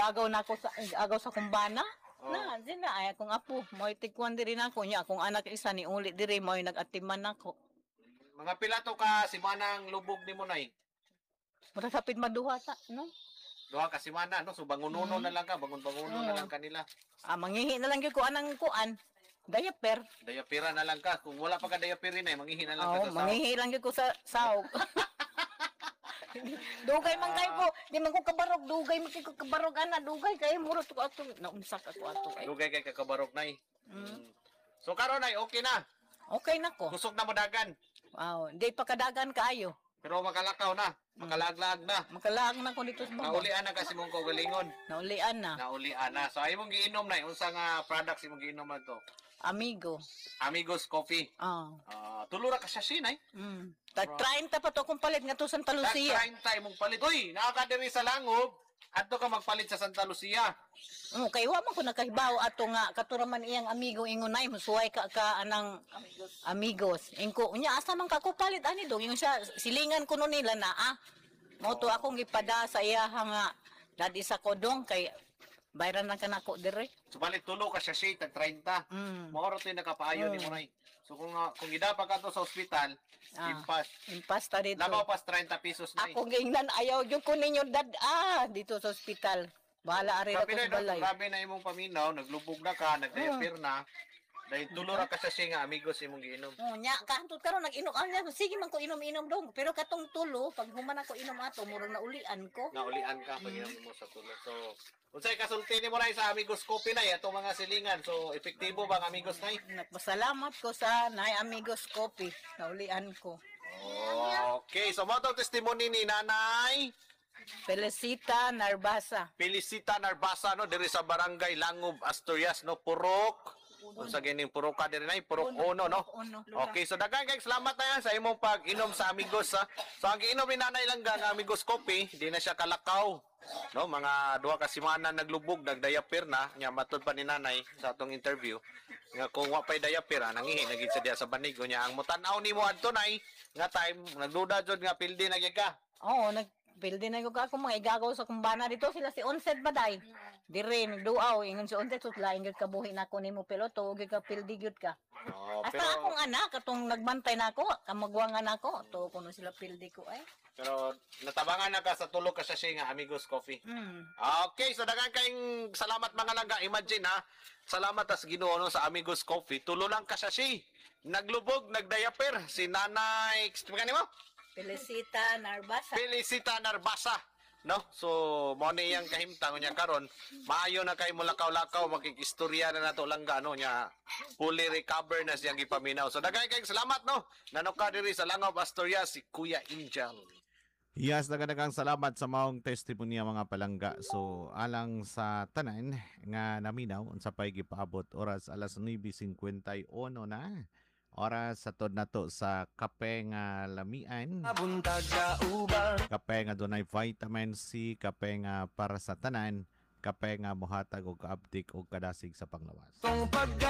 Igagaw na ako sa igagaw sa kumbana. Oh. Na, di na ay akong apo, mo'y tigkuan diri nako nya akong anak isa ni uli diri mo'y nag-atiman nako. Mga pila to ka simanang lubog nimo, Nay? Mura sapit maduha ta, no? 2 ka semana, no? So bangununo na lang ka, bangun-banguno na lang kanila. Ah, manghihi na lang gyud ko anang kuan. Diaper. Dayapira na lang ka. Kung wala pa ka diaper, Nay, manghihi na lang ka Oo, sa sahog. manghihi lang gyud ko sa sahog. Dugay man kayo ko, di man ko kabarog, dugay man kayo ko kabarog ana, dugay kayo muro to ato, naunsak ako ato ay. Dugay kay kakabarog, Nay. So karon, Nay, okay na. Okay na ko. Kusog na mo dagan. Wow, di pa kadagan kaayo. Pero makalakaw na, makalaaglaag na. Makalaag na ko dito sa baba. Naulian na kasi mong kaugalingon. Naulian na. Naulian na. So ay mong giinom na, unsa nga products imong giinom na to? Amigo. Amigos Coffee. Ah. Ah, tulo ra ka sachet, Nay. Tag 30 pa to akong palit nga to Santa Lucia. Tag 30 imong palit. Uy, naa ka diri sa Langob. Adto ka magpalit sa Santa Lucia. Oh, kay wa man ko nakahibaw ato nga katura man iyang amigo ingon nay musuway ka ka anang amigos. Amigos. Ingko unya asa man ka ko palit ani dong ingon siya silingan kuno nila na ah. Mao to akong gipada sa iya nga dadi sa kodong kay bayran lang kanako dire. Subalit tulo ka sachet tag 30. Mao ra to yung nakapaayo nimo, Nay. So kung gidapa ka to sa ospital, impas. Impas ta dito. Labaw pas 30 pesos, Nay. Ako giingnan ayaw gyud ko ninyo dad ah dito sa ospital. Bahala ari Grabe ako na, sa balay. no? Grabe na imong paminaw, naglubog na ka, nagdiaper na. Dahil tulo ra ka sachet nga Amigos imong giinom. Oh, nya kahantot karon nag-inom ah, nya, sige man ko inom-inom dong. Pero katong tulo pag human ako inom ato murag naulian ko. Naulian ka pag inom mo sa tulo. So, unsay kasulti nimo, Nay, sa Amigos Coffee, Nay, atong mga silingan? So, epektibo ba ang Amigos, Nay? Nagpasalamat ko sa Nay Amigos Coffee. Naulian ko. Okay, so mao tong testimony ni Nanay Felicita Narbasa. Felicita Narbasa, no, diri sa Barangay Langob, Asturias, no, Purok. Unsa gining puroka diri, Nay? Purok Uno, no? Uno. Okay, so daghan kay salamat na yan sa imong pag-inom sa Amigos ha. So ang giinom ni Nanay lang ang Amigos Coffee, di na siya kalakaw. No, mga 2 ka semana naglubog, nagdiaper na, nya matud pa ni Nanay sa atong interview nga kung wa pay diaper, ah, nangihi na gid sa diya sa banig nya ang mutan-aw nimo adto, Nay, nga time nagduda jud nga pildi na gyud ka. Oo, nagpildi na ko ka akong mga igagaw sa kumbana dito sila si Onset baday. Dire nagduaw ingon si Onset sut laing gyud kabuhi nako nimo pero to gyud ka pildi gyud ka. Oh, Hasta pero akong anak katong nagbantay nako, kamagwangan nako, to kuno sila pildi ko ay. Pero natabangan na ka sa tulo ka sachet nga Amigos Coffee. Okay, so daghan kayong salamat, mga langga. Imagine ha, salamat tas Ginoo, no, sa Amigos Coffee. Tulo lang ka sachet. Naglubog, nagdiaper si Nanay, ka nimo? Felicita Narbasa. Felicita Narbasa. No? So, mo ni iyang kahimtang niya karon. Maayo na kay mulakaw-lakaw, makikistorya na nato, langga, no, nya. Fully recover na siyang gipaminaw. So, daghan kayong salamat, no. Nanoka diri sa Langob, Asturias si Kuya Angel. Yes, daghang salamat sa maong testimonya, mga palangga. So, alang sa tanan nga naminaw unsa pay gipaabot oras alas 9:51 na. Oras sa tod nato sa kape nga lamian. Buntag kauban. Kape nga dunay vitamin C, kape nga para sa tanan, kape nga mohatag og kaabtik og kadasig sa panglawas. Tong pagka